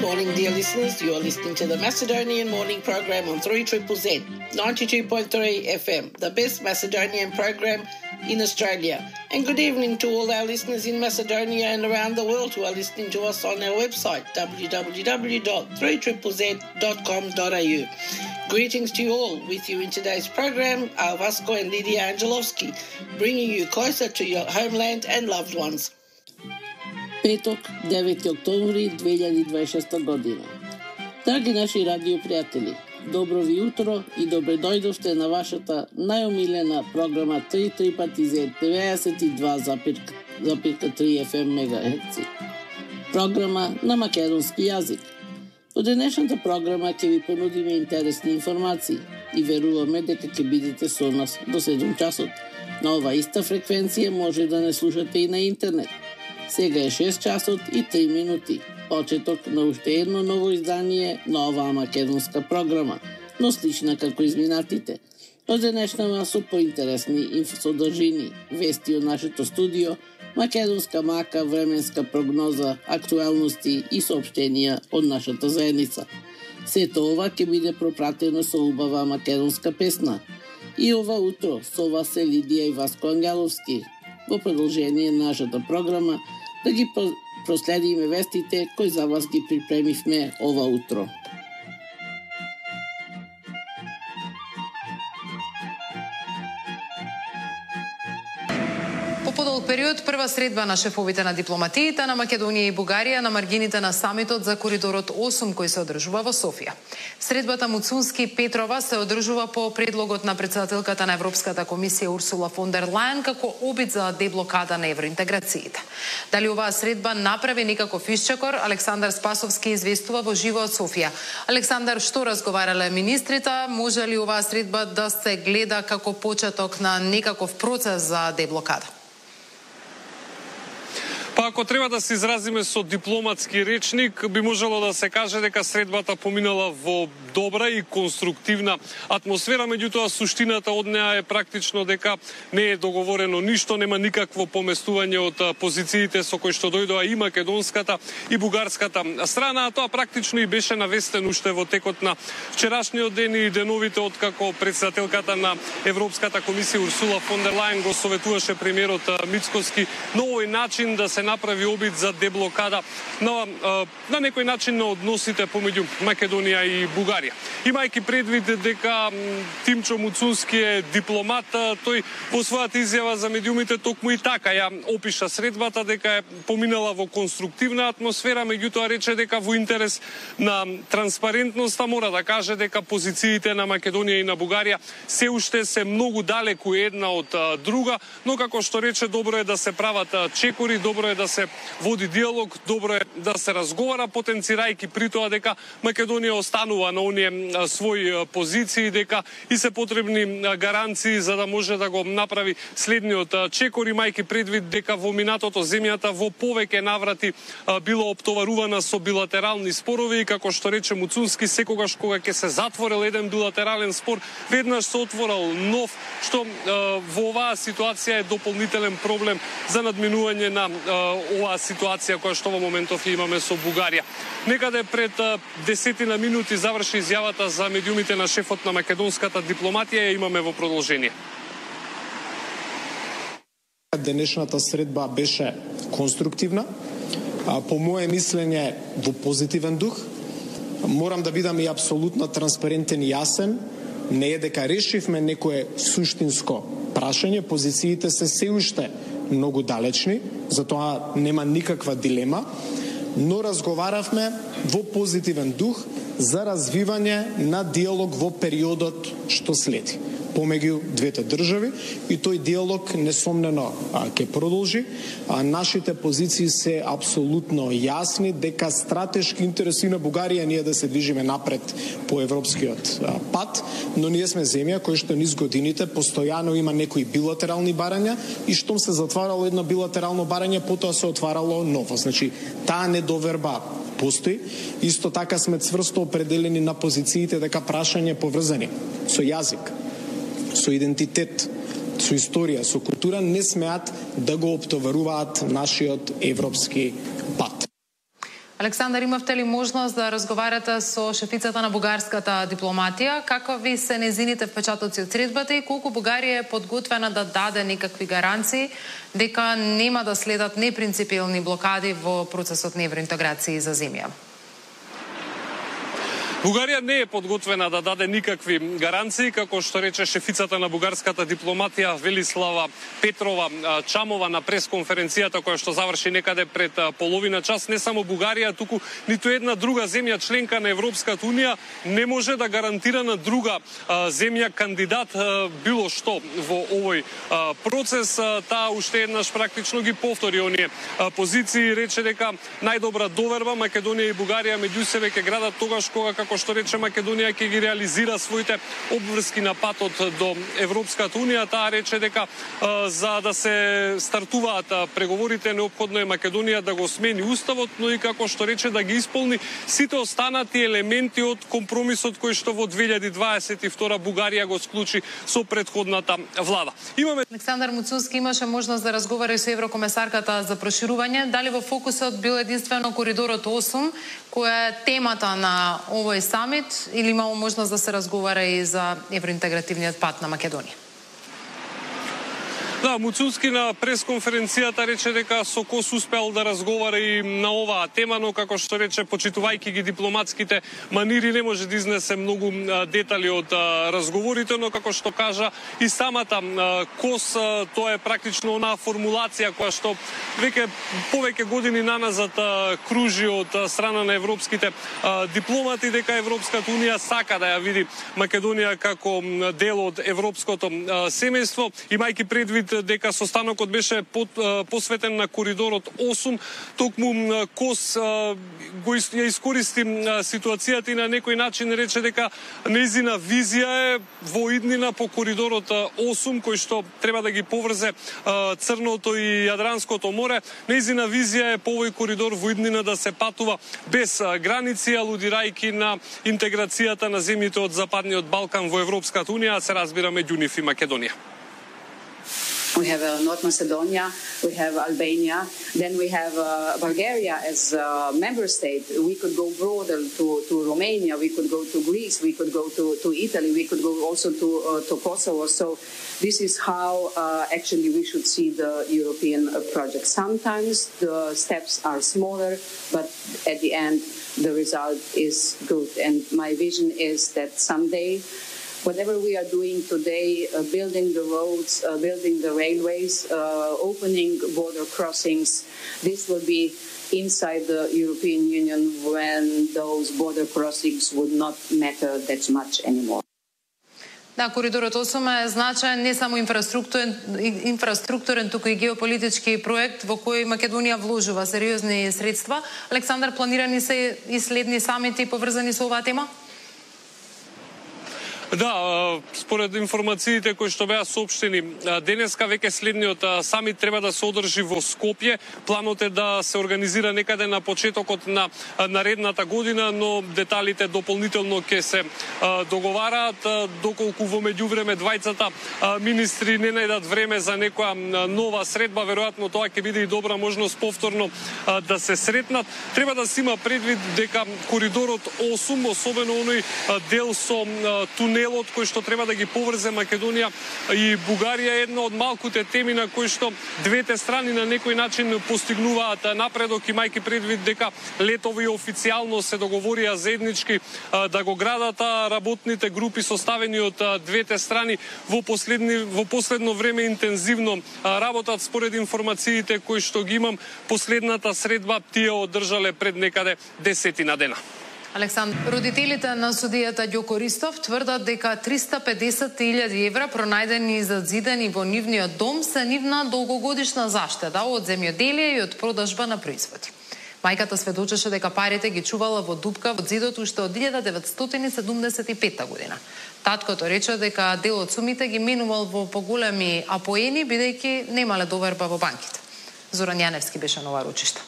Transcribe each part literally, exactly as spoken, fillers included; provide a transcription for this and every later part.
Morning, dear listeners. You are listening to the Macedonian Morning Program on three Z Z Z, ninety-two point three F M, the best Macedonian program in Australia. And good evening to all our listeners in Macedonia and around the world who are listening to us on our website, w w w dot three z z z dot com dot a u. Greetings to you all. With you in today's program are Vasco and Lydia Angelovski, bringing you closer to your homeland and loved ones. Петок, девети октомври две илјади дваесет и шеста година. Драги наши радио пријатели, добро ви утро и добре дојдовте на вашата најомилена програма три три пати Z деветдесет и два запирка три F M мегахерци. Програма на македонски јазик. Во денешната програма ќе ви понудиме интересни информации и веруваме дека ќе бидете со нас до седум часот. На ова иста фреквенција може да не слушате и на интернет. Сега е шест часот и три минути. Почеток на уште едно ново издание на оваа македонска програма, но слична како изминатите. Оденешнава со поинтересни содржини, вести од нашето студио, македонска мака, временска прогноза, актуелности и соопштенија од нашата заедница. Сето ова ќе биде пропратено со убава македонска песна. И ова утро со вас се Лидија и Васко Ангеловски. Во продолжение на нашата програма да ги проследиме вестите кои за вас ги припремивме ова утро. По подолг период, прва средба на шефовите на дипломатиите на Македонија и Бугарија на маргините на самитот за коридорот осум кој се одржува во Софија. Средбата Муцунски-Петрова се одржува по предлогот на претседателката на Европската комисија Урсула фон дер Лајен како обид за деблокада на евроинтеграциите. Дали оваа средба направи некаков исчекор, Александар Спасовски известува во живо од Софија. Александар, што разговарале министрите? Може ли оваа средба да се гледа како почеток на некаков процес за деблокада? Па ако треба да се изразиме со дипломатски речник, би можело да се каже дека средбата поминала во добра и конструктивна атмосфера, меѓутоа суштината од неа е практично дека не е договорено ништо, нема никакво поместување од позициите со кои што дојдоа и македонската и бугарската страна, а тоа практично и беше навестено уште во текот на вчерашниот ден и деновите откако председателката на Европската комисија Урсула фон дер Лајен го советуваше премиерот Мицкоски на овој начин да се направи обид за деблокада на, на некој начин на односите помеѓу Македонија и Бугарија. Имајќи предвид дека Тимчо Муцунски е дипломат, тој во својата изјава за медиумите токму и така ја опиша средбата дека е поминала во конструктивна атмосфера, меѓутоа рече дека во интерес на транспарентноста мора да каже дека позициите на Македонија и на Бугарија се уште се многу далеку една од друга, но како што рече, добро е да се прават чекори, добро е да се води диалог, добро е да се разговара, потенцирајќи при тоа дека Македонија останува на оние своји позиции, дека и се потребни гаранции за да може да го направи следниот чекор, имајќи предвид дека во минатото земјата во повеќе наврати било оптоварувана со билатерални спорови и како што рече Муцунски, секогаш кога ќе се затворил еден билатерален спор, веднаш се отворил нов, што во оваа ситуација е дополнителен проблем за надминување на оваа ситуација која што во моментов имаме со Бугарија. Некаде пред десетина минути заврши изјавата за медиумите на шефот на македонската дипломатија, ја имаме во продолжение. Денешната средба беше конструктивна, по моје мислење во позитивен дух. Морам да бидам и апсолутно транспарентен и јасен. Не е дека решивме некое суштинско прашање, позициите се се уште многу далечни, затоа нема никаква дилема, но разговаравме во позитивен дух за развивање на диалог во периодот што следи помеѓу двете држави, и тој диалог несомнено ќе продолжи. А нашите позиции се апсолутно јасни дека стратешки интереси на Бугарија ние да се движиме напред по европскиот пат, но ние сме земја која што низ годините постојано има некои билатерални барања и штом се затварало едно билатерално барање, потоа се отварало ново. Значи, таа недоверба постои. Исто така сме цврсто определени на позициите дека прашање поврзани со јазик, со идентитет, со историја, со култура не смеат да го оптоваруваат нашиот европски пат. Александар, имавте ли можност да разговарате со шефицата на бугарската дипломатија? Какви се незините впечатоци од средбата и колку Бугарија е подготвена да даде некакви гаранции дека нема да следат непринципилни блокади во процесот на евроинтеграција за земја? Бугарија не е подготвена да даде никакви гаранции, како што рече шефицата на бугарската дипломатија Велислава Петрова Чамова на пресконференцијата која што заврши некаде пред половина час. Не само Бугарија, туку ниту една друга земја членка на Европската унија не може да гарантира на друга земја кандидат било што во овој процес. Таа уште еднаш практично ги повтори оние позиции, рече дека најдобра доверба Македонија и Бугарија меѓу себе ќе градат тогаш кога, како што рече Македонија, ќе ги реализира своите обврски на патот до Европската унија. Таа рече дека за да се стартуваат преговорите неопходно е Македонија да го смени уставот, но и како што рече да ги исполни сите останати елементи од компромисот кој што во две илјади дваесет и втора Бугарија го склучи со претходната влада. Имаме Александар Муцунски имаше можност да разговара и со еврокомесарката за проширување. Дали во фокусот бил единствено коридорот осум, која е темата на овој самит, или имало можност да се разговара и за евроинтегративниот пат на Македонија? Да, Муцунски на пресконференцијата рече дека со Кос успел да разговара и на оваа тема, но како што рече, почитувајќи ги дипломатските манири, не може да изнесе многу детали од разговорите, но како што кажа и самата Кос, тоа е практично онаа формулација која што веќе повеќе години наназад кружи од страна на европските дипломати, дека Европската унија сака да ја види Македонија како дел од европското семејство, имајќи предвид дека состанокот беше под, посветен на коридорот осум, токму Кос го ја искористи ситуацијата и на некој начин рече дека нејзина визија е во иднина по коридорот осум, кој што треба да ги поврзе Црното и Јадранското море. Нејзина визија е по овој коридор во иднина да се патува без граници, алудирајќи на интеграцијата на земјите од Западниот Балкан во Европската унија, а се разбира меѓу нив и Македонија. We have uh, North Macedonia, we have Albania, then we have uh, Bulgaria as a member state. We could go broader to, to Romania, we could go to Greece, we could go to, to Italy, we could go also to, uh, to Kosovo. So this is how uh, actually we should see the European uh, project. Sometimes the steps are smaller, but at the end the result is good. And my vision is that someday whatever we are doing today, uh, building the roads, uh, building the railways, uh, opening border crossings, this will be inside the European Union when those border crossings would not matter that much anymore. Да, коридорот осум е значаен не само инфраструктурен, инфраструктурен, туку и геополитички проект во кој Македонија вложува сериозни средства. Александар, планирани се и следни самити поврзани со оваа тема? Да, според информациите кои што беа соопштени денеска, веќе следниот самит треба да се одржи во Скопје. Планот е да се организира некаде на почетокот на наредната година, но деталите дополнително ќе се договараат, доколку во меѓувреме двајцата министри не најдат време за некоја нова средба. Веројатно тоа ќе биде и добра можност повторно да се сретнат. Треба да се има предвид дека коридорот осум, особено оној дел со тунел кој што треба да ги поврзе Македонија и Бугарија, е една од малкуте теми на кои што двете страни на некој начин постигнуваат напредок, имајќи предвид дека летови официјално се договорија заеднички да го градат, а работните групи составени од двете страни во последни во последно време интензивно работат. Според информациите кои што ги имам, последната средба тие одржале пред некаде десетина дена. Александр, родителите на судијата Ѓоко Ристов тврдат дека триста педесет илјади евра пронајдени и зазидани во нивниот дом се нивна долгогодишна заштеда од земјоделие и од продажба на производи. Мајката сведочеше дека парите ги чувала во дупка во зидот уште од илјада деветстотини седумдесет и петта година. Таткото рече дека дел од сумите ги менувал во поголеми апоени, бидејќи немале доверба во банките. Зоран Јаневски беше на ова ручиште.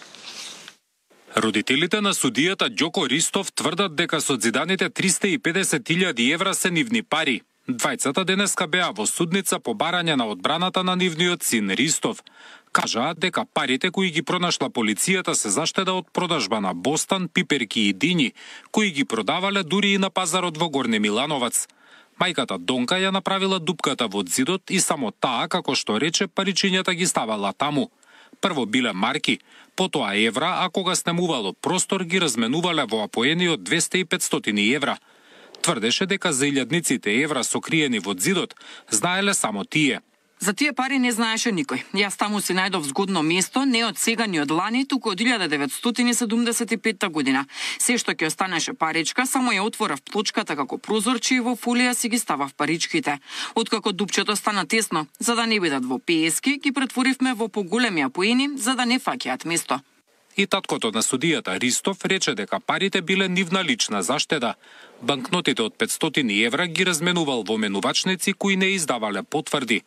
Родителите на судијата Ѓоко Ристов тврдат дека созиданите триста и педесет илјади евра се нивни пари. Двајцата денеска беа во судница по барање на одбраната на нивниот син Ристов. Кажаа дека парите кои ги пронашла полицијата се заштеда од продажба на бостан, пиперки и дини, кои ги продавале дури и на пазарот во Горне Милановац. Мајката Донка ја направила дупката во зидот и само таа, како што рече, паричињата ги ставала таму. Прво биле марки, потоа евра, а кога снемувало простор ги разменувале во апоени од двесте и петстотини евра. Тврдеше дека за илјадниците евра сокриени во зидот знаеле само тие. За тие пари не знаеше никој. Јас таму си најдов згодно место, не од сега ни од лани, туку од илјада деветстотини седумдесет и петта година. Се што ќе останеше паричка, само ја отворав плочката како прозорче и во фолија си ги ставав паричките. Откако дупчето стана тесно, за да не бидат во пеески, ги претворивме во поголеми апоени, за да не фаќаат место. И таткото на судијата Ристов рече дека парите биле нивна лична заштеда. Банкнотите од петстотини евра ги разменувал во менувачници кои не издавале потврди.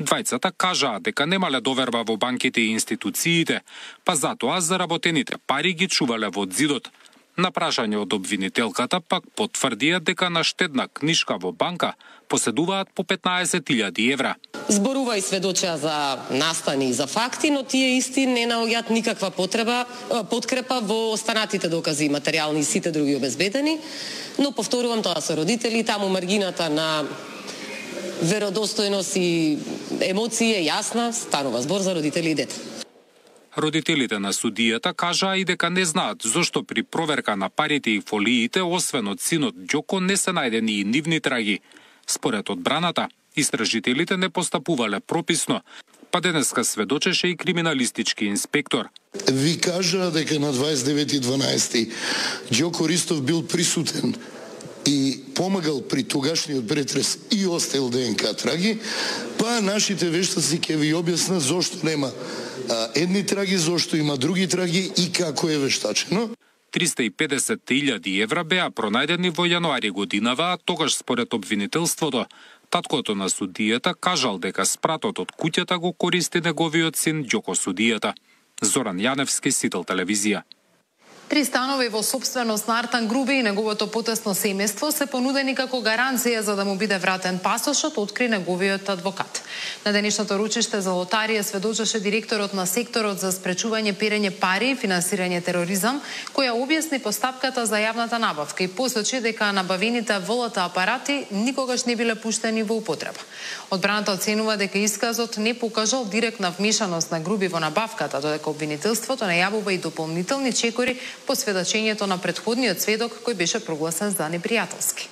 Двајцата кажаа дека немале доверба во банките и институциите, па затоа заработените пари ги чувале во зидот. На прашање од обвинителката пак потврдија дека на штедна книшка во банка поседуваат по петнаесет илјади евра. Зборува и сведочеа за настани и за факти, но тие исти не наоѓаат никаква потреба, подкрепа во останатите докази, материјални и сите други обезбедени, но повторувам, тоа се родители, таму маргината на веродостојност и емоции е јасна, станува збор за родители и дете. Родителите на судијата кажаа и дека не знаат зошто при проверка на парите и фолиите, освен од синот Ѓоко, не се најдени и нивни траги. Според одбраната, истражителите не постапувале прописно, па денеска сведочеше и криминалистички инспектор. Ви кажа дека на дваесет и девети дванаести Ѓоко Ристов бил присутен и помагал при тогашниот претрес и оставил ДНК траги, па нашите вештаци ќе ви објаснат зошто нема а, едни траги, зошто има други траги и како е вештачено. триста и педесет илјади евра беа пронајдени во јануари годинава, а тогаш според обвинителството, таткото на судијата кажал дека спратот од куќата го користи неговиот син Ѓоко судијата. Зоран Јаневски, Сител телевизија. Три станови во собственост на Артан Груби и неговото потесно семејство се понудени како гаранција за да му биде вратен пасошот, откри неговиот адвокат. На денешното ручиште за лотарија сведочеше директорот на секторот за спречување перење пари и финансирање тероризам, која објасни постапката за јавната набавка и посочи дека набавените ВЛТ апарати никогаш не биле пуштени во употреба. Одбраната оценува дека исказот не покажал директна вмешаност на Груби во набавката, додека обвинителството најавува и дополнителни чекори по сведочењето на претходниот сведок кој беше прогласен за непријателски.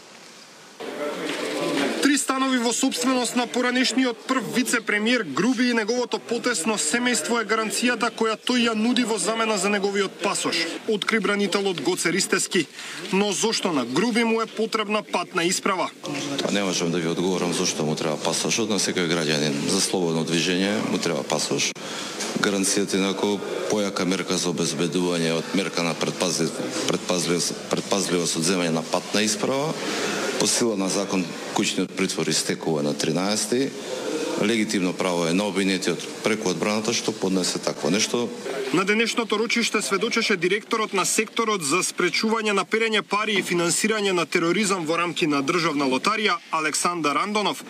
Три станови во собственост на поранешниот прв вице-премиер Груби и неговото потесно семејство е гаранцијата која тој ја нуди во замена за неговиот пасош, откри бранителот Гоце Ристевски. Но зошто на Груби му е потребна патна исправа? Тоа не можам да ви одговорам зошто му треба пасошот, на секој граѓанин за слободно движење му треба пасош. Гаранцијата е нако појака мерка за обезбедување од мерка на предпазливост, предпазливост од земање на патна исправа. По сила на закон, куќниот притвор истекува на тринаесети. Легитимно право е на обвинетиот преку одбраната што поднесе такво нешто. На денешното ручиште сведочеше директорот на секторот за спречување на перење пари и финансирање на тероризам во рамки на државна лотарија Александар Андонов.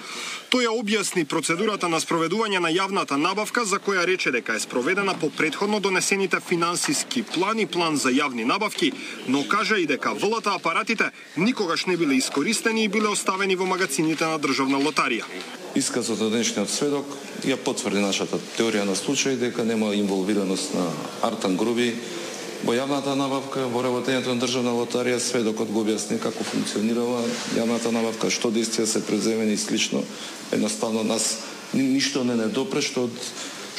Тој ја објасни процедурата на спроведување на јавната набавка, за која рече дека е спроведена по претходно донесените финансиски план и план за јавни набавки, но кажа и дека ВЛТ апаратите никогаш не биле искористени и биле оставени во магацините на државна лотарија. Исказот на денешниот сведок ја потврди нашата теорија на случај дека нема инволвираност на Артан Груби во јавната набавка, во работењето на државна лотарија. Сведокот го објасни како функционирала јавната набавка, што действија се преземени и слично. Едноставно нас ништо не недопре што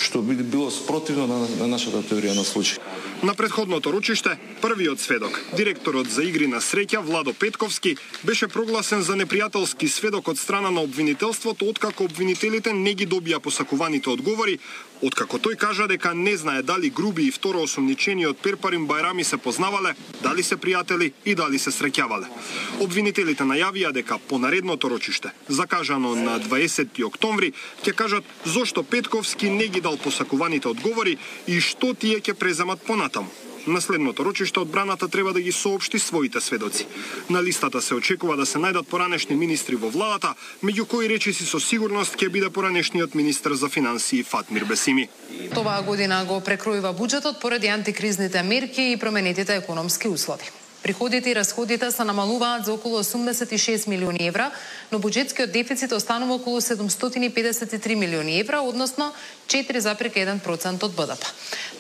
што би било спротивно на, на нашата теорија на случај. На претходното ручиште, првиот сведок, директорот за игри на среќа Владо Петковски, беше прогласен за непријателски сведок од страна на обвинителството, откако обвинителите не ги добија посакуваните одговори, откако тој кажа дека не знае дали Груби и второ осомничениот Перпарин Бајрами се познавале, дали се пријатели и дали се среќавале. Обвинителите најавија дека по наредното рочиште, закажано на дваесети октомври, ќе кажат зошто Петковски не ги дал посакуваните одговори и што тие ќе преземат понатаму. На следното рочиште одбраната треба да ги соопшти своите сведоци. На листата се очекува да се најдат поранешни министри во владата, меѓу кои речиси со сигурност ќе биде поранешниот министер за финансии Фатмир Бесими. Оваа година го прекројува буџетот поради антикризните мерки и променетите економски услови. Приходите и расходите се намалуваат за околу осумдесет и шест милиони евра, но буџетскиот дефицит останува околу седумстотини педесет и три милиони евра, односно четири запирка еден процент од БДП.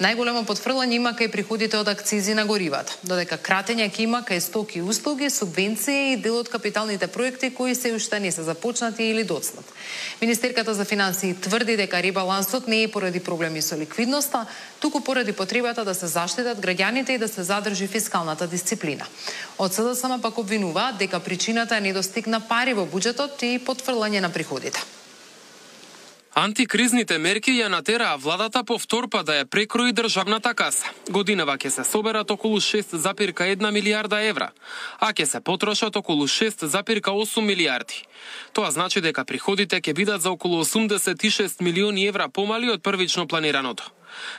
Најголемо потфрлање има кај приходите од акцизи на горивата, додека кратење ќе има кај стоки и услуги, субвенции и дел од капиталните проекти кои се уште не се започнати или доцнат. Министерката за финансии тврди дека ребалансот не е поради проблеми со ликвидноста, туку поради потребата да се заштитат граѓаните и да се задржи фискалната дисциплина. Од СДСМ пак обвинуваат дека причината е недостиг на пари во буџетот и потфрлање на приходите. Антикризните мерки ја натераа владата повтор па да ја прекрои државната каса. Годинава ќе се соберат околу шест запирка една милијарда евра, а ќе се потрошат околу шест запирка осум милијарди. Тоа значи дека приходите ќе бидат за околу осумдесет и шест милиони евра помали од првично планираното.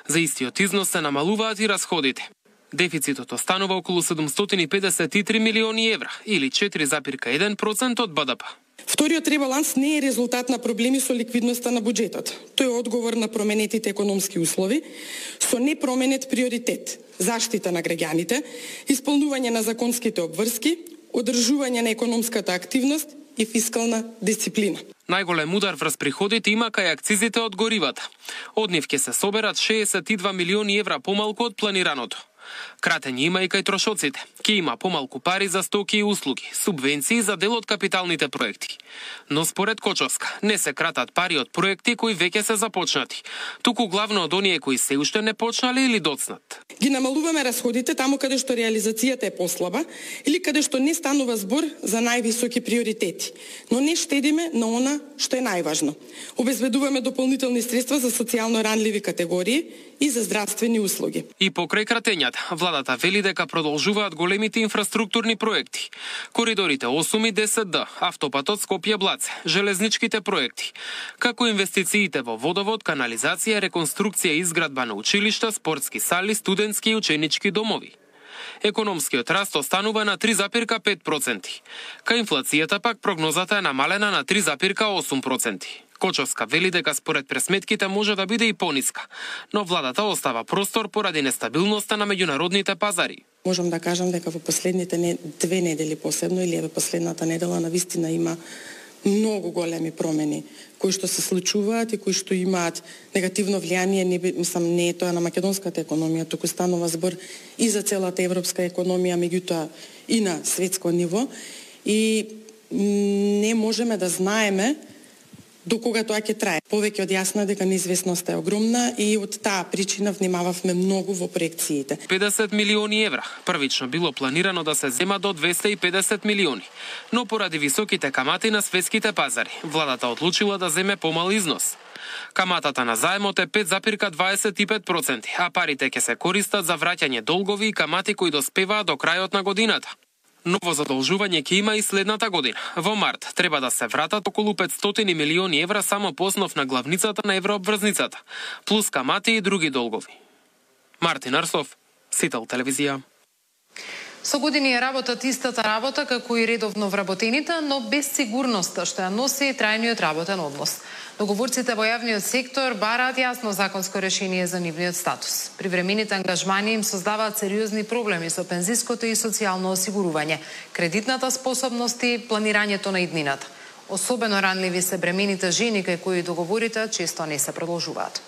За истиот износ се намалуваат и расходите. Дефицитот останува околу седумстотини педесет и три милиони евра или четири запирка еден процент од БДП. Вториот ребаланс не е резултат на проблеми со ликвидноста на буџетот. Тој е одговор на променетите економски услови со непроменет приоритет: заштита на граѓаните, исполнување на законските обврски, одржување на економската активност и фискална дисциплина. Најголем удар врз приходите има кај акцизите од горивата. Од нив ќе се соберат шеесет и два милиони евра помалку од планираното. Кратење има и кај трошоците. Ке има помалку пари за стоки и услуги, субвенции за дел од капиталните проекти. Но според Кочовска, не се кратат пари од проекти кои веќе се започнати, туку главно од оние кои се уште не почнале или доцнат. Ги намалуваме расходите таму каде што реализацијата е послаба или каде што не станува збор за највисоки приоритети, но не штедиме на она што е најважно. Обезбедуваме дополнителни средства за социјално ранливи категории и за здравствени услуги. И покрај кратењата, владата вели дека продолжуваат големите инфраструктурни проекти. Коридорите осум и десет Д, автопатот Скопје-Блаце, железничките проекти, како инвестициите во водовод, канализација, реконструкција и изградба на училишта, спортски сали, студентски и ученички домови. Економскиот раст останува на три запирка пет проценти. Кај инфлацијата пак прогнозата е намалена на три запирка осум проценти. Кочовска вели дека според пресметките може да биде и пониска, но владата остава простор поради нестабилноста на меѓународните пазари. Можам да кажам дека во последните не, две недели посебно или еве последната недела навистина има многу големи промени кои што се случуваат и кои што имаат негативно влијание, не мислам не е тоа на македонската економија, туку станува збор и за целата европска економија, меѓутоа и на светско ниво, и не можеме да знаеме до кога тоа ќе трае. Повеќе од јасно дека неизвестноста е огромна и од таа причина внимававме многу во проекциите. педесет милиони евра. Првично било планирано да се зема до двесте и педесет милиони, но поради високите камати на светските пазари, владата одлучила да земе помал износ. Каматата на заемот е пет запирка дваесет и пет проценти, а парите ќе се користат за враќање долгови и камати кои доспеваат до крајот на годината. Ново задолжување ќе има и следната година. Во март треба да се вратат околу петстотини милиони евра само по основ на главницата на еврообврзницата, плюс камати и други долгови. Мартин Арсов, Сител телевизија. Со години работат истата работа како и редовно вработените, но без сигурноста што ја носи трајниот работен однос. Договорците во јавниот сектор бараат јасно законско решение за нивниот статус. Привремените ангажмани им создаваат сериозни проблеми со пензиското и социјално осигурување, кредитната способност и планирањето на иднината. Особено ранливи се бремените жени кај кои договорите често не се продолжуваат.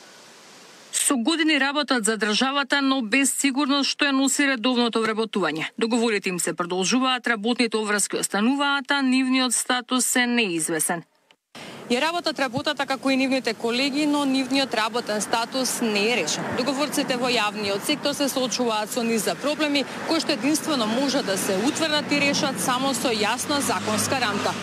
Со години работат за државата, но без сигурност што ја носи редовното вработување. Договорите им се продолжуваат, работните обврски остануваат, а нивниот статус е неизвесен. Ја работат работата како и нивните колеги, но нивниот работен статус не е решен. Договорците во јавниот сектор се соочуваат со низ за проблеми кои што единствено може да се утврдат и решат само со јасна законска рамка.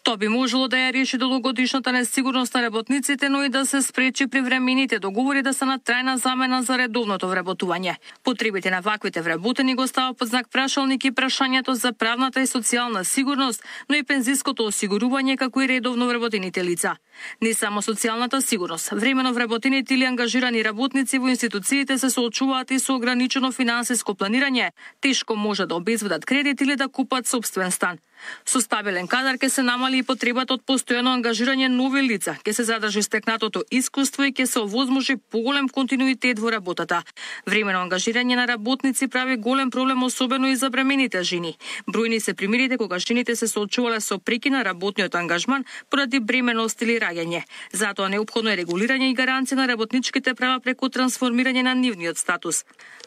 Тоа би можело да ја реши долгогодишната несигурност на работниците, но и да се спречи привремените договори да се на трајна замена за редовното вработување. Потребите на ваквите вработени го става под знак прашалник и прашањето за правната и социјална сигурност, но и пензиското осигурување како и редовно вработените лица. Не само социјалната сигурност, времено вработените или ангажирани работници во институциите се соочуваат и со ограничено финансиско планирање, тешко може да обезведат кредит или да купат сопствен стан. Со стабилен кадар ќе се намали и потребата од постојано ангажирање нови лица, ќе се задржи стекнатото искуство и ќе се овозможи поголем континуитет во работата. Времено ангажирање на работници прави голем проблем особено и за бремените жени. Бројни се примерите кога жените се соочувале со преки на работниот ангажман поради бременост или раѓање. Затоа неопходно е регулирање и гаранција на работничките права преку трансформирање на нивниот статус.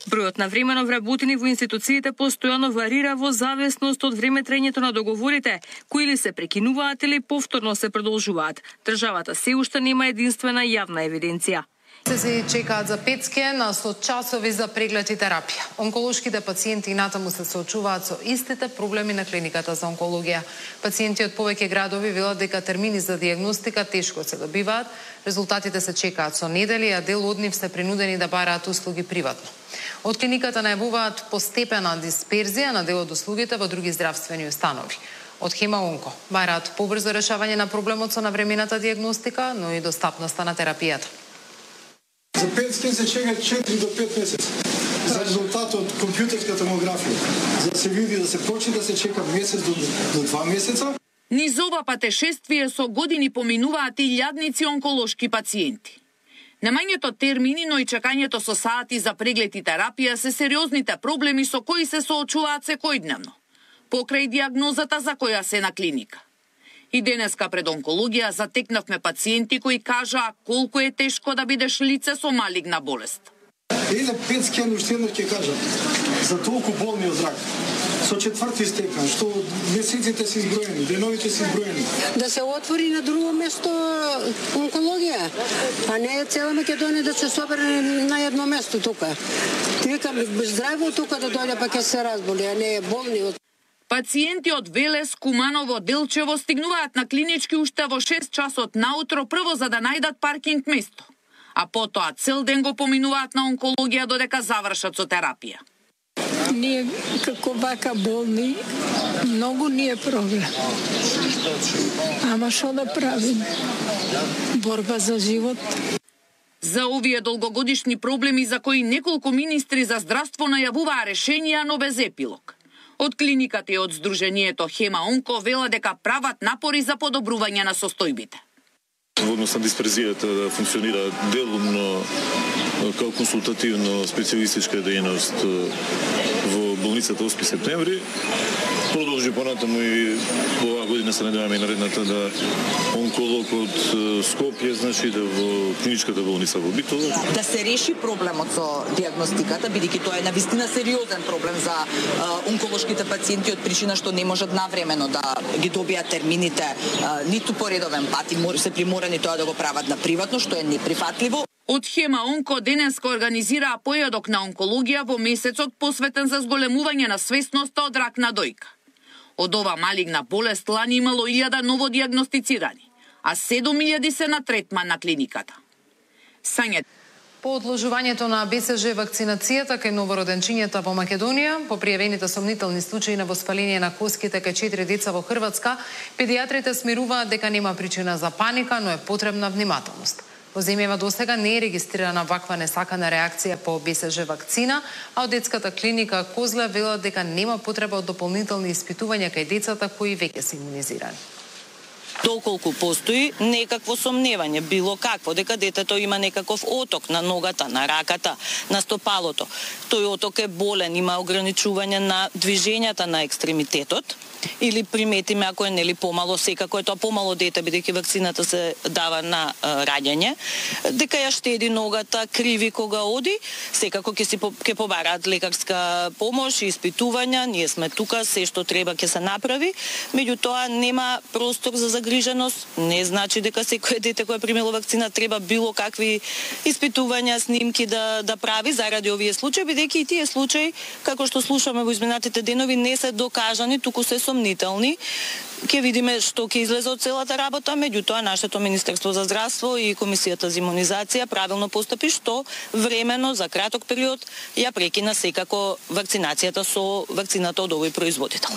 Бројот на времено вработени во институциите постојано варира во зависност од време траењето на договорите, кои или се прекинуваат или повторно се продолжуваат. Државата се уште нема единствена јавна евиденција. Се чекаат за петске на со часови за преглед и терапија. Онколошките пациенти инатаму се соочуваат со истите проблеми на клиниката за онкологија. Пациенти од повеќе градови велат дека термини за дијагностика тешко се добиваат, резултатите се чекаат со недели, а дел од нив се принудени да бараат услуги приватно. Од клиниката најавуваат постепена дисперзија на дел од услугите во други здравствени установи. Од Хема Онко бараат побрзо решавање на проблемот со навремената дијагностика, но и достапноста на терапијата. За петскен се чека четири до пет месеци за резултат од компјутерска томографија. За да се види, да се почне да се чека месец до, до два месеца. Низ ова патешествие со години поминуваат и илјадници онколошки пациенти. Немањето термини, но и чекањето со сати за преглед и терапија се сериозните проблеми со кои се соочуваат секојдневно, покрај дијагнозата за која се на клиника. И денеска пред онкологија затекнавме пациенти кои кажаа колку е тешко да бидеш лице со малигна болест. Еде петскен уште еднаш ќе кажам за толку болни од рак. Со четврти степен, што месеците се изброени, деновите се изброени. Да се отвори на друго место онкологија, а не цела Македонија да се собере на едно место тука. Викам здраво тука да дојде па ќе се разболи, а не болни од Пациенти од Велес, Куманово, Делчево стигнуваат на клинички уште во шест часот наутро прво за да најдат паркинг место, а потоа цел ден го поминуваат на онкологија додека завршат со терапија. Ние како вака болни, многу ни е проблем. Ама што да правим? Борба за живот. За овие долгогодишни проблеми за кои неколку министри за здравство најавуваа решенија, но без епилог. Од клиниката и од Сдруженијето Хема Онко вела дека прават напори за подобрување на состојбите. Во однос на дисперзијата да функционира делумно као консултативно специјалистичка дејност во болницата осми септември. Продолжи понатаму и оваа година се надеваме и наредната да онколог од Скопје, значи да во клиничката болница во Битола. Да се реши проблемот со дијагностиката, бидејќи тоа е навистина сериозен проблем за онколошките пациенти од причина што не можат навремено да ги добијат термините ниту по редовен пат и се приморани тоа да го прават на приватно, што е неприфатливо. Од Хема Онко денеска организираа појадок на онкологија во месецот посветен за зголемување на свесноста од рак на дојка. Од ова малигна болест лани имало илјада ново дијагностицирани, а седум илјади се на третман на клиниката. Сања По одложувањето на БСЖ вакцинацијата кај новороденчињата во Македонија, по пријавените сомнителни случаи на воспаление на коските кај четири деца во Хрватска, педијатрите смируваат дека нема причина за паника, но е потребна внимателност. Во земјава досега не е регистрирана ваква несакана реакција по БСЖ вакцина, а од детската клиника Козле велат дека нема потреба од дополнителни испитувања кај децата кои веќе се имунизирани. Доколку постои некакво сомневање, било какво, дека детето има некаков оток на ногата, на раката, на стопалото. Тој оток е болен, има ограничување на движењата на екстремитетот, или приметиме ако е нели помало, секако е тоа помало дете, бидејќи вакцината се дава на а, раѓање, дека ја штеди ногата, криви кога оди, секако ќе си ќе побараат лекарска помош и испитувања, ние сме тука, се што треба ќе се направи, меѓутоа нема простор за загрижување загриженост, не значи дека секое дете кое примило вакцина треба било какви испитувања, снимки да да прави заради овие случаи, бидејќи и тие случаи, како што слушаме во изминатите денови, не се докажани, туку се сомнителни. Ќе видиме што ќе излезе од целата работа, меѓутоа нашето Министерство за здравство и Комисијата за имунизација правилно постапи што времено за краток период ја прекина секако вакцинацијата со вакцината од овој производител.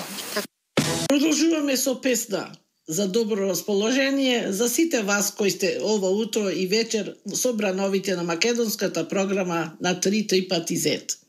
Продолжуваме со песна за добро расположение за сите вас кои сте ова утро и вечер собрановите на македонската програма на три три пати зет.